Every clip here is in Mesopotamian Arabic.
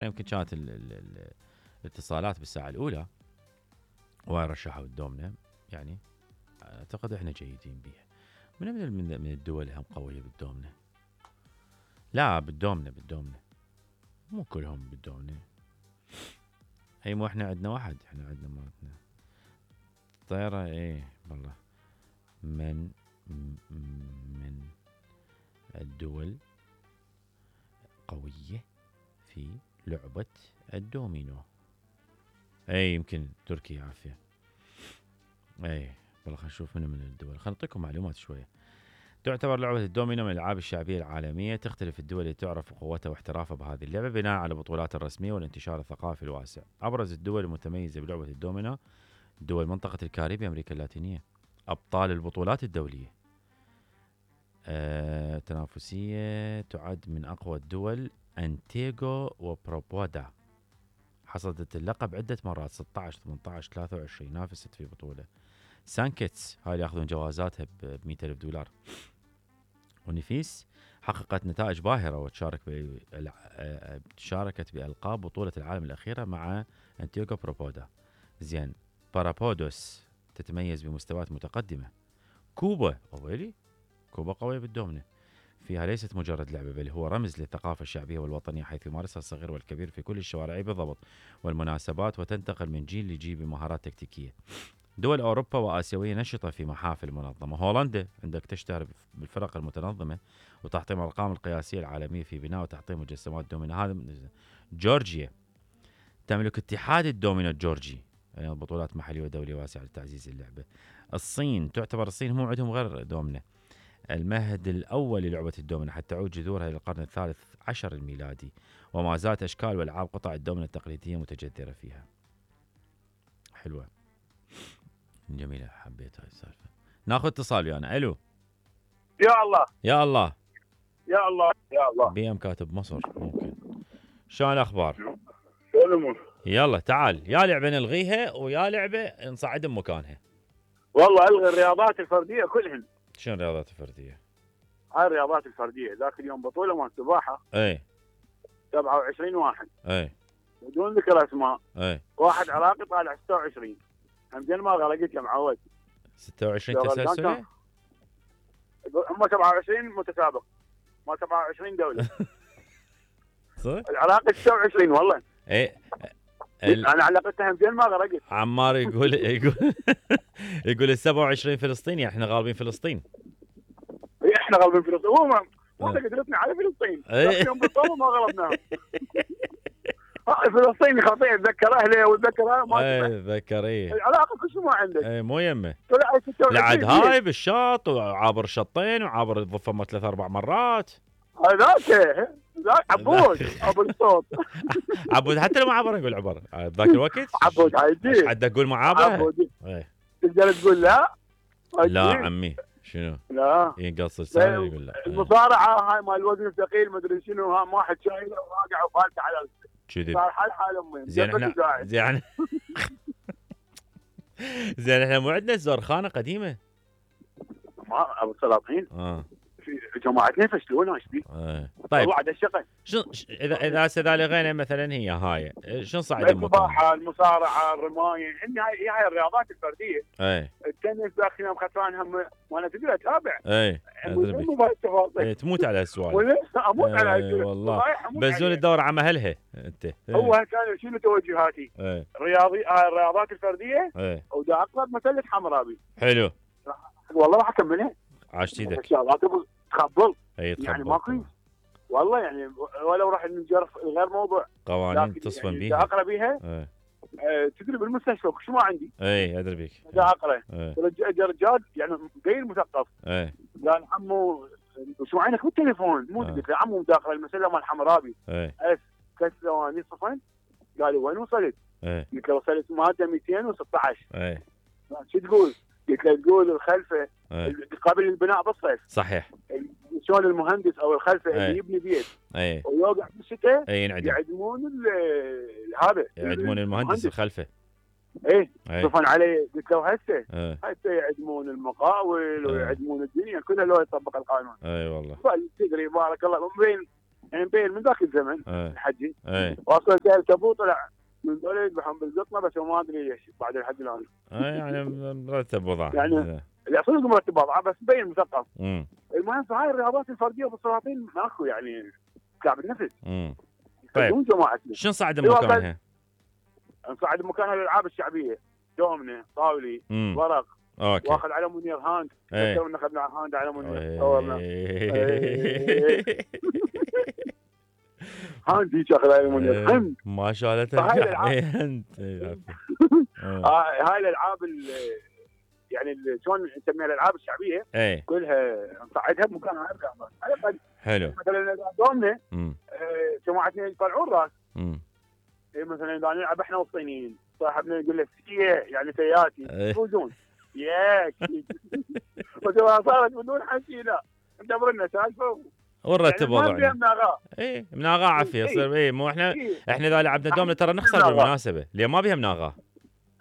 يمكن كانت الاتصالات بالساعه الاولى وهاي رشحوا الدومنه، يعني اعتقد احنا جيدين بيها. من الدول هم قويه بالدومنه؟ لا بالدومنه مو كلهم بالدومنه. اي مو احنا عندنا واحد، احنا عندنا مالتنا طياره. ايه والله من الدول قويه في لعبه الدومينو. اي يمكن تركيا عافيه. اي والله خلينا نشوف من الدول، خلينا نعطيكم معلومات شويه. تعتبر لعبة الدومينو من الألعاب الشعبية العالمية. تختلف الدول اللي تعرف قوتها واحترافها بهذه اللعبة بناء على البطولات الرسمية والانتشار الثقافي الواسع. أبرز الدول المتميزة بلعبة الدومينو دول منطقة الكاريبي، أمريكا اللاتينية. أبطال البطولات الدولية تنافسية تعد من أقوى الدول أنتيغو وبروبودا، حصدت اللقب عدة مرات 16 18 23 نافست في بطولة. سانكيتس هاي اللي ياخذون جوازاتها $100,000. ونفيس حققت نتائج باهرة شاركت بألقاب بطولة العالم الأخيرة مع أنتيغو بروبودا. زين بارابودوس تتميز بمستويات متقدمة. كوبا أولي كوبا قوية بالدومنة، فيها ليست مجرد لعبة بل هو رمز للثقافة الشعبية والوطنية، حيث يمارسها الصغير والكبير في كل الشوارع بالضبط والمناسبات، وتنتقل من جيل لجيل بمهارات تكتيكية. دول أوروبا وآسيوية نشطة في محافل منظمة. هولندا عندك تشتهر بالفرق المتنظمة وتحطيم الأرقام القياسية العالمية في بناء وتحطيم مجسمات دومينو. هذا جورجيا تملك اتحاد الدومينو الجورجي، يعني بطولات محلية ودولية واسعة لتعزيز اللعبة. الصين تعتبر الصين هم عندهم غير دومينو المهد الأول للعبة الدومينو، حتى تعود جذورها إلى القرن ال13 الميلادي، وما زالت أشكال وألعاب قطع الدومينو التقليدية متجذرة فيها. حلوة جميلة، حبيت هاي السالفة. ناخذ اتصال ويانا. الو. يا الله يا الله يا الله يا الله. بي ام كاتب مصر. ممكن شلون الاخبار؟ شو الامور؟ يلا تعال، يا لعبة نلغيها ويا لعبة نصعد بمكانها. والله الغي الرياضات الفرديه كلهن. شنو الرياضات الفردية؟ هاي الرياضات الفرديه ذاك اليوم بطوله مال سباحه. اي 27 واحد. اي بدون ذكر اسماء. اي واحد عراقي طالع 26. همزين ما غلقت يا معود. 26 تسلسلة؟ هم 27 متسابق، ما 27 دوله. صح؟ العراقي 26 والله. اي انا علقتها همزين ما غلقت. عمار يقول يقول ال 27 فلسطيني، احنا غالبين فلسطين. احنا غالبين فلسطين، هو ما قدرتنا على فلسطين. اليوم بالطول ما غلبناهم. فلسطيني خطير، اتذكر اهله واتذكر ما اتذكر. ايه العلاقه كل شيء ما عندك. ايه مو يمه. لعد هاي بالشاط وعابر شطين وعابر الضفه 3-4 مرات. ذاك عبود ابو الصوت. عبود حتى لو ما عبر يقول عبر ذاك الوقت. عبود هاي حد اقول معابره. تقدر تقول لا. لا عمي شنو؟ لا يقص لسانه يقول لا. المصارعه هاي مال الوزن الثقيل ما ادري شنو، ها واحد شايله وراجع وفالته على كذي صار حال امي. زين احنا زين احنا مو عندنا زرخانه قديمه؟ ما ابو السلاطين في جماعتنا يفشلونا ايش بي؟ طيب وعد الشغل اذا لغينا مثلا هي هاي شنو صعد السباحه، المصارعه، الرمايه، هاي الرياضات الفرديه. التنس داخل يوم خسران هم وانا تقدر اتابع. تموت على هالسؤال. اموت على هالسؤال والله. بزول تدور على مهلها انت. هو كان شنو توجهاتي؟ الرياضات الفرديه ودا اقرب مثلث حمرابي. حلو والله راح اكملها. عاشت ايدك. تخبل يعني ماكو والله، يعني ولو راح نجرف غير موضوع قوانين تصفن بيها اقرا بيها. تدري بالمستشفى شو ما عندي. ادري بيك. اقرا رجال يعني غير مثقف. قال عمو شو عينك بالتليفون؟ مو قلت له عمو داخل المسله مال حمرابي. اس كس ثواني صفن. قال وين وصلت؟ قلت له وصلت ماده 216. شو تقول؟ قلت له تقول الخلفه قبل البناء بالصيف. صحيح. شلون المهندس او الخلفه اللي يبني بيت ويوقع بالشتاء يعدمون هذا يعدمون المهندس الخلفه. صفن عليه. قلت له هسه يعدمون المقاول ويعدمون الدنيا كلها لو يطبق القانون. والله تدري بارك الله من بين يعني مبين من ذاك الزمن الحجي واصلا سالت ابوه طلع من ذول يذبحون بالقطنه بس ما ادري ليش بعد الحج الان. يعني مرتب وضعه يعني صدق مرتب وضعه بس مبين مثقف. المهم في هاي الرياضات الفرديه والسلاطين ماكو يعني كعب النفس. طيب شنو نصعد بمكانها؟ نصعد بمكانها الالعاب الشعبيه، دومنه، طاولي، ورق. اوكي. واخذ على منير هاند، تونا اخذنا هاند على منير صورنا. هاند هيك اخذ على منير هاند ما شاء الله ترجع هاند. هاي الالعاب يعني شلون نسميها الالعاب الشعبيه كلها نصعدها بمكانها هاي الرياضات. حلو. مثلا دومنه جماعتنا يطلعون راس. مثلا اذا نلعب احنا والصينيين صاحبنا يقول لك يعني سياتي يفوزون ياك. صارت بدون حكي لا ندبرنا سالفه ونرتب وضعنا. يعني مناغاه. مناغاه عافيه يصير. مو احنا اذا لعبنا دومنه ترى نخسر بالمناسبه، ليه ما بيها مناغاه.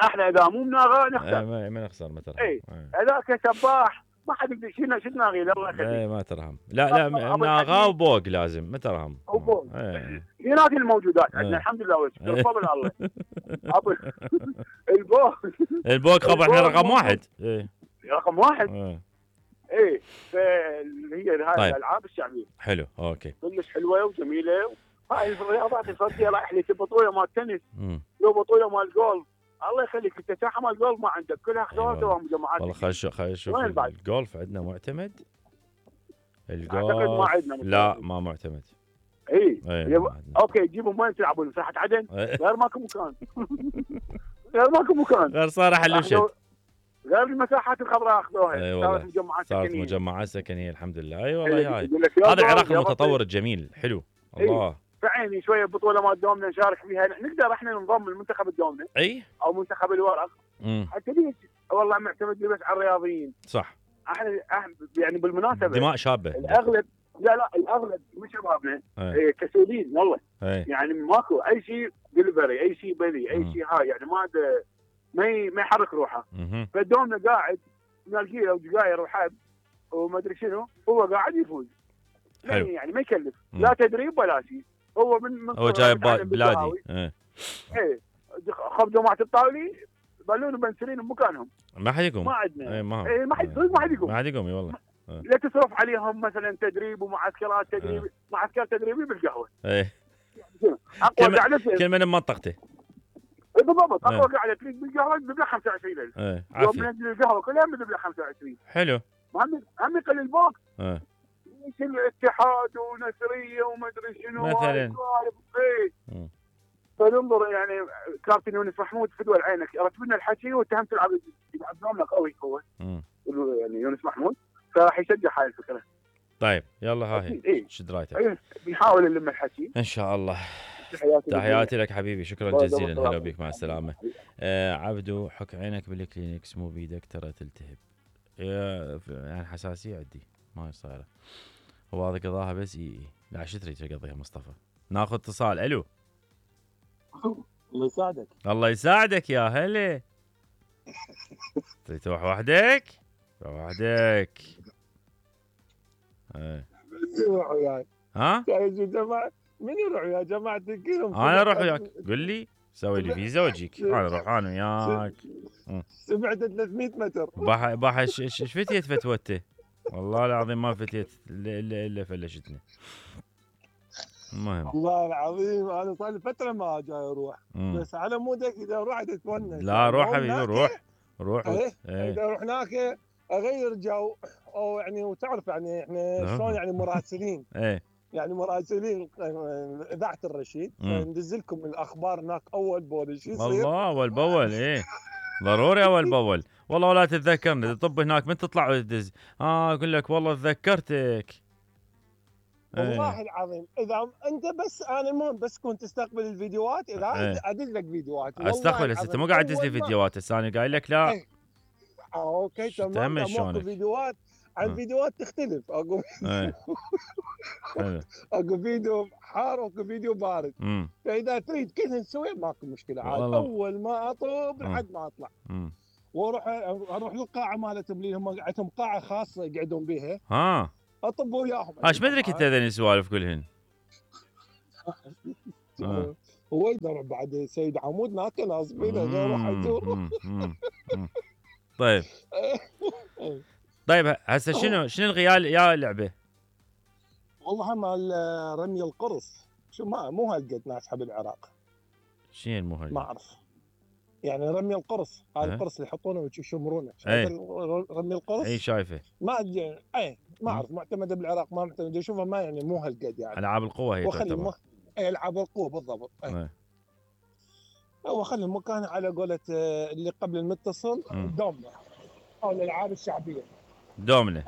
احنا اذا مو مناغاه نخسر. ما نخسر مثلا. هذاك سباح ما حد يقدر شو تناغي الله يخليك. ما ترهم. لا مناغاه وبوق لازم ما ترهم. وبوق. في نادي الموجودات عندنا الحمد لله والشكر بفضل الله. البوق خب احنا رقم واحد. رقم واحد. فهي هاي الالعاب الشعبيه. حلو اوكي. كلش حلوه وجميله. هاي الرياضات الفرديه رايح لي بطوله مال تنس. لو بطوله مال جولف. الله يخليك انت ساحه مال جولف ما عندك كلها اختوار سوا مجمعات. والله خل نشوف الجولف عندنا معتمد. الجولف ما عندنا. لا ما معتمد. اوكي جيبهم وين تلعبون ساحه عدن؟ غير ماكو مكان. غير ماكو مكان. غير صار حلوشت. غير المساحات الخضراء اخذوها. صارت مجمعات سكنيه الحمد لله. اي والله هذا العراق المتطور الجميل حلو. الله فعيني شويه بطوله مال دومنه نشارك فيها نقدر احنا ننضم لمنتخب الدومنه او منتخب الورق. حتى ليش والله معتمد بس على الرياضيين. صح. احنا يعني بالمناسبه دماء شابه الاغلب. لا الاغلب من شبابنا كسولين والله. يعني ماكو اي شيء دليفري اي شيء بذي اي شيء هاي يعني ما يحرك روحه. فالدومنه قاعد نلقي له سجاير وحب وما ادري شنو هو قاعد يفوز. يعني ما يكلف لا تدريب ولا شيء. هو جاي بلادي. خذ جماعه الطاولي بلون وبنسلين بمكانهم. ما حد يقوم. ما عندنا. ما حد يقوم. ما حد يقوم والله. لا تصرف عليهم مثلا تدريب ومعسكرات تدريب. معسكر تدريبي بالقهوه. كل من منطقته. بالضبط اقوى قاعده تريد بالقهوه ببلغ 25,000. يوم ننزل القهوه كلها ببلغ 25. حلو. هم يقل البوك. ايش الاتحاد ونسريه وما ادري شنو مثلا. فننظر يعني كابتن يونس محمود فدوى عينك رتبنا الحكي واتهمت يلعب دومنه قوي هو. يعني يونس محمود فراح يشجع هاي الفكره. طيب يلا هاي شد رايتك. بنحاول نلم الحكي ان شاء الله. تحياتي لك حبيبي شكرا جزيلا. هلا بك مع السلامه. عبدو حك عينك بالكلينكس مو بيدك ترى تلتهب. يعني حساسيه عندي ما صايره. هو هذا قضاها بس لا شتري تقضيها مصطفى. ناخذ اتصال. الو. الله يساعدك. الله يساعدك يا هلا. تروح وحدك؟ روح وحدك. روح وياي. ها؟ من يروح يا جماعة كلهم؟ انا اروح وياك. قل لي سوي لي فيزا واجيك. انا اروح انا وياك. سمعت 300 متر. باح ايش فتيت فتوته؟ والله العظيم ما فتيت الا فلشتني. المهم والله العظيم انا صار لي فتره ما جاي اروح. بس على مودك اذا رحت تتونس. لا روح حبيبي روح. اذا اروح هناك اغير جو او يعني وتعرف يعني احنا شلون يعني مراسلين. يعني مراسلين اذاعه الرشيد فندز لكم الاخبار هناك اول باول شو يصير. الله اول باول ضروري اول باول. والله ولا تتذكرني طب هناك من تطلع وتدز. اقول لك والله تذكرتك. والله العظيم اذا انت بس انا مو بس كنت تستقبل الفيديوهات اذا ادز لك فيديوهات. استقبل هسه انت مو قاعد تدز لي فيديوهات هسه انا قايل لك لا. اوكي تمام. اكو فيديوهات عن فيديوهات تختلف. اكو اكو فيديو حار واكو فيديو بارد. فاذا تريد كذا نسوي ماكو مشكله عاد. اول ما اطب لحد ما اطلع اروح للقاعه مالتهم اللي هم عندهم قاعه خاصه يقعدون بها. ها اطب وياهم. ايش مدري كنت هذين السوالف كلهن. هو يدرب بعد سيد عمود ناكل ناصبينه يروح يزور. طيب طيب هسه شنو الغيال يا لعبه؟ والله مال رمي القرص، شو مو هالقد ناجحه بالعراق. شنو مو هالقد؟ ما اعرف يعني رمي القرص، هاي القرص اللي يحطونه ويشمرونه، شايف رمي القرص؟ اي شايفه. ما اعرف معتمده بالعراق ما معتمده، اشوفها ما يعني مو هالقد يعني. العاب القوه هي تعتبر. العاب القوه بالضبط. هو خلي المكان على قولة اللي قبل المتصل دومنة او الالعاب الشعبيه. دومنة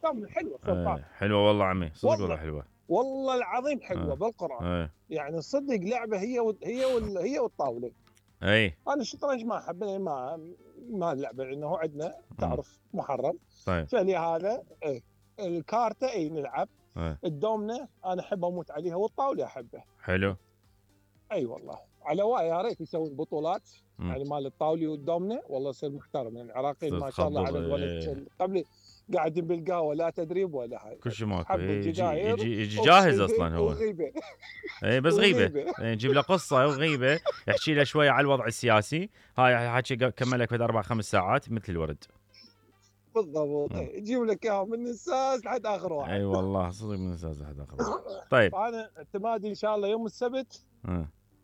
دومنة حلوه سلطان. حلوه والله عمي، صدق والله حلوه والله العظيم حلوه بالقران. يعني صدق لعبه هي والطاوله. انا الشطرنج ما احب، ما اللعبه لانه عندنا تعرف محرم. طيب فلهذا الكارته نلعب. الدومنه انا احب اموت عليها، والطاوله احبها. حلو. اي والله على يا ريت يسوون بطولات يعني مال الطاوله والدومنه، والله يصير محترم يعني. العراقيين ما شاء الله على قولة قبل قاعدين بالقهوه لا تدريب ولا هاي، كل شيء ماكو. يجي جاهز اصلا هو. وغيبه. بس غيبه نجيب له قصه وغيبه، يحكي له شويه على الوضع السياسي. هاي حكي كمل لك 4-5 ساعات مثل الورد. بالضبط. يجيب لك اياها من الساس لحد اخر واحد. اي والله صدق من الساس لحد اخر واحد. طيب انا اعتمادي ان شاء الله يوم السبت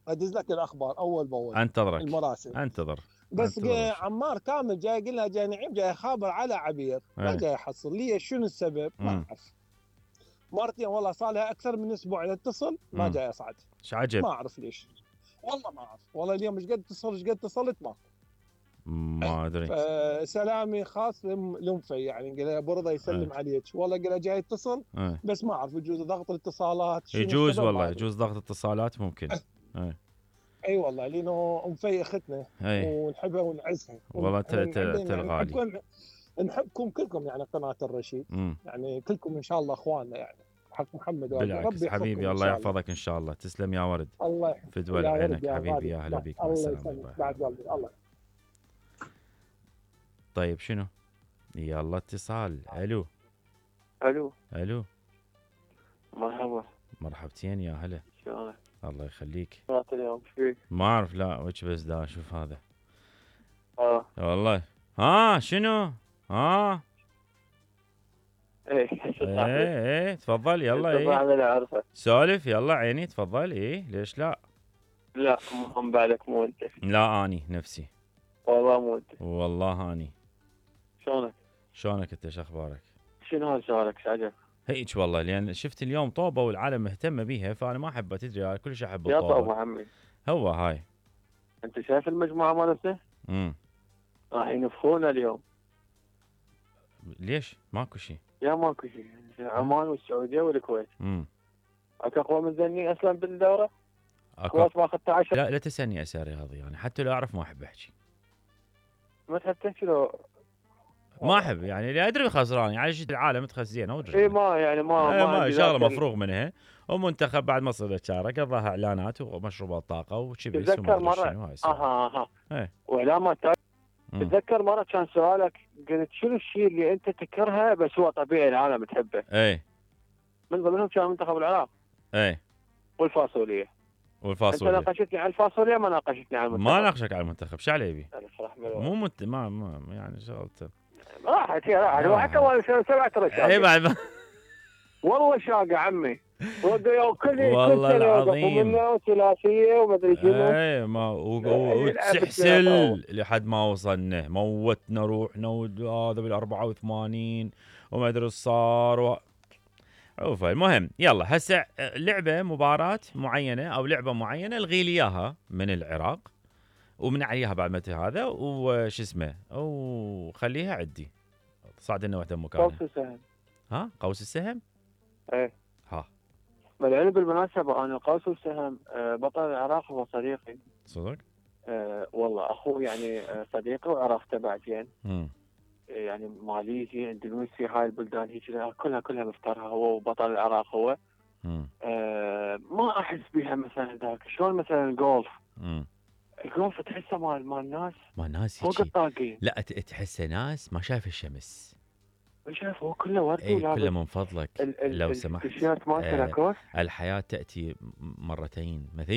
ادز لك الاخبار اول باول. انتظرك. المراسل انتظر. بس عمار كامل جاي يقول لها جاي نعيم جاي خابر على عبير. ما جاي يحصل لي شنو السبب ما اعرف. مرتين والله صار لها اكثر من اسبوع اتصل ما جاي يصعد. ايش عجب؟ ما اعرف ليش والله ما اعرف. والله اليوم ايش قد اتصلت ما ادري. سلامي خاص لمفي يعني قال له ابو رضا يسلم عليك. والله قال له جاي يتصل بس ما اعرف يجوز ضغط الاتصالات. يجوز والله يجوز ضغط اتصالات ممكن. اي والله لانه مفي اختنا ونحبها ونعزها والله تلغالي يعني. نحبكم كلكم يعني قناه الرشيد. يعني كلكم ان شاء الله اخواننا يعني حق محمد. بالعكس حبيبي الله يحفظك ان شاء الله. تسلم يا ورد. الله يحفظك. فدوى عينك حبيبي. يا هلا بيك. الله يسلمك بعد قلبي. الله. طيب شنو؟ يلا اتصال. الو مرحبا. مرحبتين يا هلا. شلونك؟ الله يخليك. اليوم فيك؟ ما اعرف لا وجه بس دا اشوف هذا. والله شنو؟ ايه تفضل يلا. سولف يلا عيني تفضل. ليش لا مو بعدك مو انت. لا اني نفسي والله مو انت. والله اني. شلونك انت؟ شو اخبارك؟ شنو هذا سؤالك؟ ايش عجب؟ هيك والله لان شفت اليوم طوبه والعالم مهتمه بيها فانا ما احبها تدري. كلش احب الطوبه. يا طوبه عمي هو هاي. انت شايف المجموعه مالتنا؟ راح ينفخونا اليوم. ليش؟ ماكو شيء. يا ماكو شيء. عمان والسعوديه والكويت. اكو اقوى من ذني اصلا بالدوره. الكويت ماخذت 10. لا تسالني اسئله رياضيه يعني حتى لو اعرف ما احب احكي. ما تحب تحكي لو ما احب يعني اللي ادري خسران يعني شيء العالم تخزين ادري. ما يعني ما شغله مفروغ منها. ومنتخب بعد ما صار شارك قضاها اعلانات ومشروبات طاقه وشبيس. تذكر مره واعلامات. تذكر مره كان سؤالك قلت شنو الشيء اللي انت تكرهه بس هو طبيعي العالم تحبه؟ من ضمنهم كان منتخب العراق. والفاصوليه. انت ناقشتني على الفاصوليه ما ناقشتني على المنتخب. ما ناقشك على المنتخب. شو على يبي؟ مو ما يعني شغلته راحت وحتى والله سمعت رشاقه. بعد والله شاقه عمي. والله العظيم ثلاثيه وما ادري شنو. ما وتسحسل لحد ما وصلنا. موتنا روحنا وهذا بال84 وما ادري ايش صار المهم يلا هسه لعبه مباراه معينه او لعبه معينه الغي لي اياها من العراق ومن عليها بعد متى هذا وش اسمه وخليها عندي. صعد لنا وحده مكانها. قوس السهم. قوس السهم. بالعلم بالمناسبه انا قوس السهم بطل العراق هو صديقي. صدق؟ والله اخوه يعني صديقي وعرفته بعدين. يعني ماليزي اندونيسي هاي البلدان هيك كلها مفترها هو وبطل العراق هو. ما احس بها مثلا ذاك شلون مثلا الجولف. الجولف تحسه مال ناس فوق الطاقين. لا تحسه ناس ما شايف الشمس. شايف هو كله وردي ولابس كله من فضلك لو سمحت. التيشيرت مالته لاكوست. الحياة تأتي مرتين، مثل